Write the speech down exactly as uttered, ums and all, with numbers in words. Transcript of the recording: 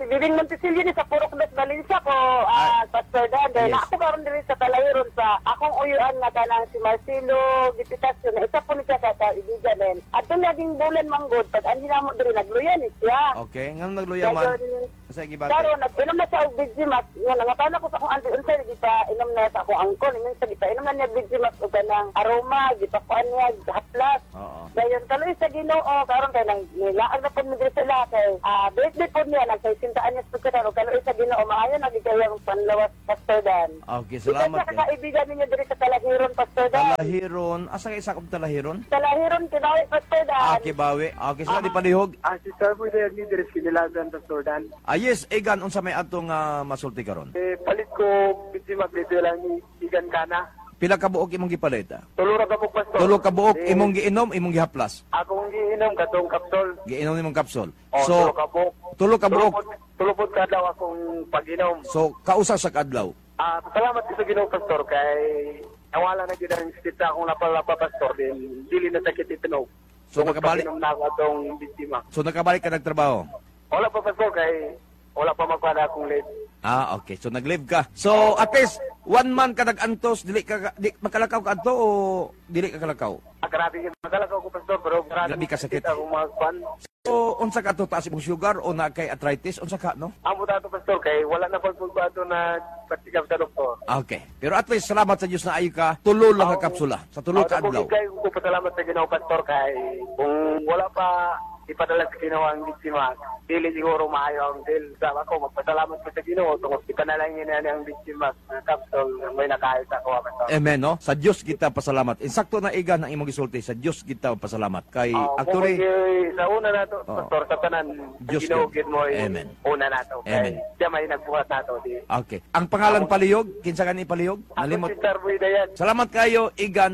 si Bibing Montesilio ni sa Purok Dos Valencia ko, ah, Pastor Dan. Dahil Yes. ako karon diri sa Talahiron sa akong uyuan nga kanang si Marcelo Gipitasio na isa po ni siya sa kaibigan din. Ato naging bulan manggod pag anhi namo diri nagluya ni siya. Okay, nganong nagluya man? Dayon, Sa gibati. Karon nag-inom na siya og B G Max. Nga nangatana ko sa akong auntie unsay gipa inom na sa akong angkon. Ingon sa gipa inom na niya B G Max og kanang aroma, gipakuan niya haplas. Oo. Dayon kaloy sa Ginoo karon kay nang nilaag na pud mi diri sila kay ah birthday pod niya, nagsa sesenta anyos pud karon. Kaloy sa Ginoo, maayo na gid kayo ang panlawas, Pastor Dan. Okay, salamat. Isa sa kaibigan ninyo diri sa Talahiron, Pastor Dan. Talahiron, asa kay sakop Talahiron? Talahiron, Kibawi, Pastor Dan. Ah, Kibawi. Okay, sila di palihog. Ah, si Sir po ni diri sa Kinilagan, Pastor Dan. Ah, yes, Egan, unsa may atong ah, masulti karon? Eh, palit ko, B G Max, dito lang igan kana. Pila ka buok imong gipalit, ah? Tulo ra ka buok, Pastor. Tulo ka buok Eh, imong giinom, imong gihaplas? Akong giinom katong kapsol. Giinom imong kapsol. Oh, So, tulo ka buok. Tulo ka buok. Tulo pod kadlaw akong pag-inom. So, kausa sa kadlaw? Ah, salamat sa Ginoo, Pastor, kay nawala na gyud ang sakit sa akong lapalapa, Pastor, din dili na sakit itinog. So, nakabalik Pag-inom na ako atong B G Max. So nakabalik ka nagtrabaho? Wala pa, Pastor, kay wala pa magkuha akong leave. Ah, okay. So nag-leave ka. So at least one month ka nag-antos, dili ka di, makalakaw ka adto o dili ka kalakaw? Ah, grabe gyud makalakaw ko, Pastor, pero grabe Grabe ka sakit. Akong magkuan. So unsa ka to, taas imong sugar o na kay arthritis, unsa ka, no? Amo dato, Pastor, kay wala na pag ato na patikap sa doktor. Okay. Pero at least salamat sa Dios na ayo ka, tulo lang ka kapsula sa tulo ka adlaw. Kay ko pasalamat sa Ginoo, Pastor, kay kung wala pa ipadala sa Ginoo ang biktima, dili siguro maayo ang deal. Sa ako magpasalamat ko sa Ginoo tungod ipanalangin niya ang biktima na kapsol may nakaayos ako, Pastor. Amen, no? Sa Dios kita pasalamat. Insakto na, Igan, ang imong gisulti, sa Dios kita pasalamat. Kay Oh, actually kung sa una nato, Oh. Pastor, sa tanan, Diyos Ginoo gid. gid mo Amen. una nato. Kay Amen. siya may nagbuhat nato di. Okay. Ang pangalan palihog, kinsa gani palihog? Ako Nalimot. si Sir Buidayan. Salamat kayo, Igan.